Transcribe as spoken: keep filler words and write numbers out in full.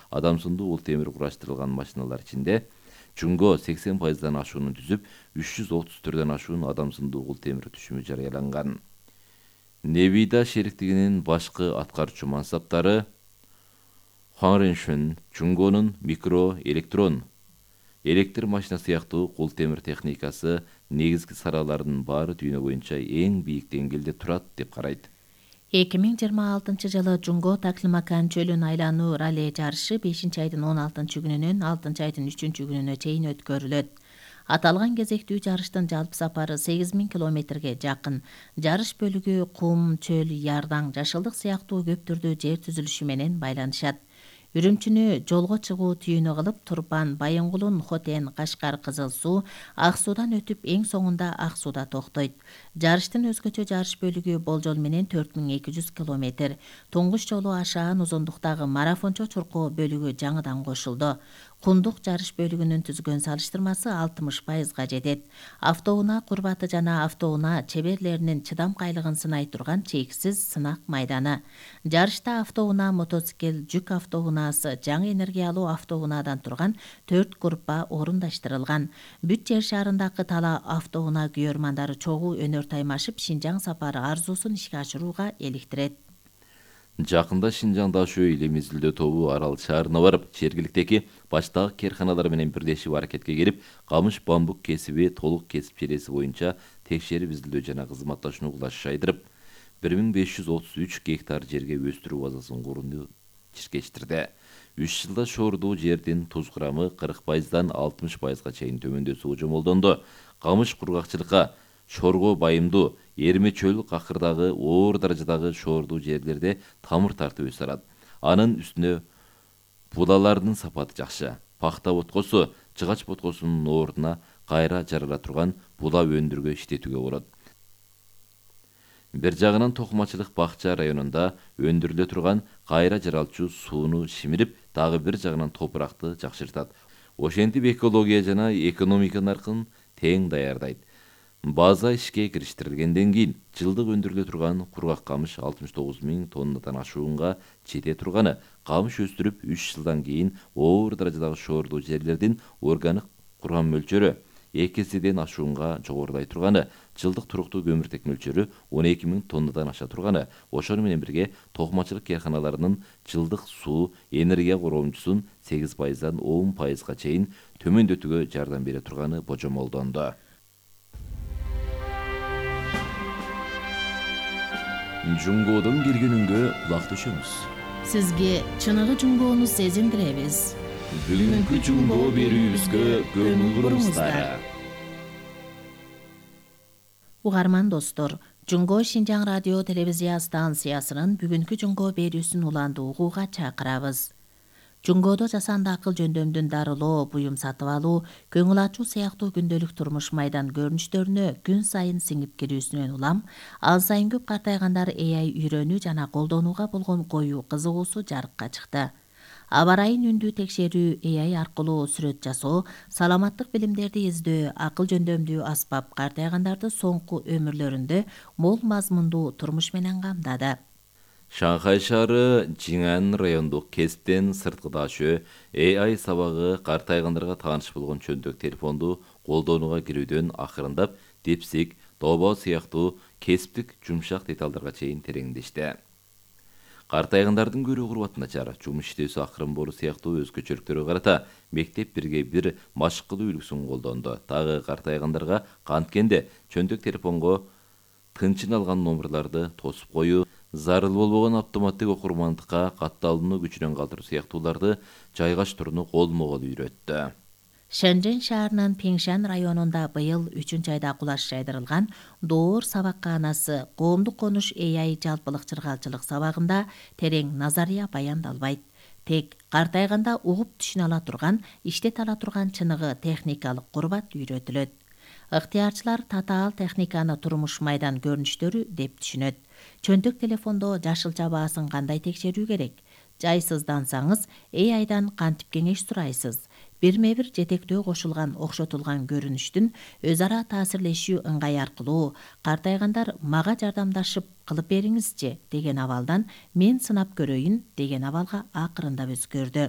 адамсындуу ул темир кураштырылган машиналар ичинде жунго сексен пайыздан ашууну түзүп, үч жүз отуз түрдөн ашуун адамсындуу ул темир түшүмү жарыяланган. Невида шериктигинин башкы аткаруучу мансаптары Хуанреншүн жунгонун микроэлектрон электр машина сыяктуу кул темир техникасы негизги саралардын баары дүйнө боюнча эң бийик деңгээлде турат деп карайт. эки миң жыйырма алтынчы жылы Жунго Таклимакан чөлүн айлануу ралли жарышы бешинчи айдын он алтынчы күнүнөн алтынчы айдын үчүнчү күнүнө чейин өткөрүлөт. Аталган кезектүү жарыштын жалпы сапары сегиз миң километрге жакын. Жарыш бөлүгү кум, чөл, ярдаң, жашылдык сыяктуу көп түрдүү жер түзүлүшү менен байланышат. Үрүмчүнү жолго чыгуу түйүнү кылып, Турпан, Байынгулун, Хотен, Кашкар, Кызыл Суу, Ак Суудан өтүп эң соңунда Ак Сууда токтойт. Жарыштын өзгөчө жарыш бөлүгү болжол менен төрт миң эки жүз километр. Туңгуч жолу ашаан узундуктагы марафончо чуркоо бөлүгү жаңыдан кошулду. Кундук жарыш бөлүгүнүн түзгөн салыштырмасы алтымыш пайызга жетет. Автоунаа курбаты жана автоунаа чеберлеринин чыдамкайлыгын сынай турган чексиз сынак майданы. Жарышта автоунаа мотоцикл, жүк автоунаасы, жаңы энергиялуу автоунаадан турган төрт группа орундаштырылган. Бүт жер шарындагы тала автоунаа күйөрмандары чогуу өнөр таймашып, Шинжаң сапары арзуусун ишке ашырууга эликтирет. Жакында Шинжаңда ашуу эле мезгилде тобу Арал шаарына барып, жергиликтеги баштагы керканалар менен бирлешип аракетке келип, камыш бамбук кесиби толук кесип чиреси боюнча текшерип изилдөө жана кызматташууну кулаш жайдырып, бир миң беш жүз отуз үч гектар жерге өстүрүү базасын курууну чиркештирди. үч жылда шоордуу жердин туз курамы кырк пайыздан алтымыш пайызга чейин төмөндөсү жомолдонду. Камыш кургакчылыкка шорго байымдуу, эрме чөл какырдагы оор даражадагы шоордуу жерлерде тамыр тартып өсө алат. Анын үстүнө будалардын сапаты жакшы. Пахта боткосу, жыгач боткосунун ордуна кайра жарала турган буда өндүргө иштетүүгө болот. Бир жагынан токумачылык бакча районунда өндүрүлө турган кайра жаралчу сууну шимирип, дагы бир жагынан топуракты жакшыртат. Ошентип экология жана экономика наркын тең даярдайт. База ишке кириштирилгенден кийин жылдык өндүрүлө турган кургак камыш алтымыш тогуз миң тоннадан ашуунга жете турганы, камыш өстүрүп үч жылдан кийин оор даражадагы шоордуу жерлердин органик кургам мөлчөрү эки эседен ашуунга жогорулай турганы, жылдык туруктуу көмүртек мөлчөрү он эки миң тоннадан аша турганы, ошону менен бирге токумачылык керканаларынын жылдык суу энергия коромчусун сегиз пайыздан он пайызга чейин төмөндөтүүгө жардам бере турганы божомолдонду. Жунгоодон келгениңге кулак түшөмүз. Сизге чыныгы жунгоону сезиндиребиз. Бүгүнкү жунгоо берүүбүзгө көңүл буруңуздар. Угарман достор, Жунго Шинжаң радио телевизия станциясынын бүгүнкү жунгоо берүүсүн уланды угууга чакырабыз. Жунгоодо жасанды акыл жөндөмдүн дарылоо, буюм сатып алуу, көңүл ачуу сыяктуу күндөлүк турмуш майдан көрүнүштөрүнө күн сайын сиңип кирүүсүнөн улам, ал сайын көп картайгандар A I үйрөнүү жана колдонууга болгон коюу кызыгуусу жарыкка чыкты. Аба ырайын үндүү текшерүү, A I аркылуу сүрөт жасоо, саламаттык билимдерди издөө, акыл жөндөмдүү аспап картайгандарды соңку өмүрлөрүндө мол мазмундуу турмуш менен камдады. Шанхай шаары Жиңан райондук Кесптен сырткыдашөө A I сабагы картайгандарга тааныш болгон чөндөк телефонду колдонууга кирүүдөн акырындап депсик, добо сыяктуу кесиптик жумшак деталдарга чейин тереңдешти. Картайгандардын көрүү курбаты начар, жумуш иштөөсү акырын болуу сыяктуу өзгөчөлүктөргө карата мектеп бирге бир машык кылуу үлгүсүн колдонду. Дагы картайгандарга канткенде чөндөк телефонго тынчын алган номерларды тосуп коюу, зарыл болбогон автоматтык окурмандыкка катталууну күчүнөн калтыруу сыяктууларды жайгаштырууну колмо-кол үйрөттү. Шэньчжэнь шаарынын Пиңшан районунда быйыл үчүнчү айда кулаш жайдырылган Доор сабаккаанасы коомдук конуш A I жалпылык чыргалчылык сабагында терең назария баяндалбайт. Тек картайганда угуп түшүнө ала турган, иштете ала турган чыныгы техникалык курбат үйрөтүлөт. Ыктыярчылар татаал техниканы турмуш майдан көрүнүштөрү деп түшүнөт. Чөнтөк телефондо жашылча баасын кандай текшерүү керек? Жайсыздансаңыз A I'дан кантип кеңеш сурайсыз? бирме бир жетектөө кошулган окшотулган көрүнүштүн өз ара таасирлешүү ыңгай аркылуу картайгандар мага жардамдашып кылып бериңизчи деген абалдан мен сынап көрөйүн деген абалга акырындап өзгөрдү.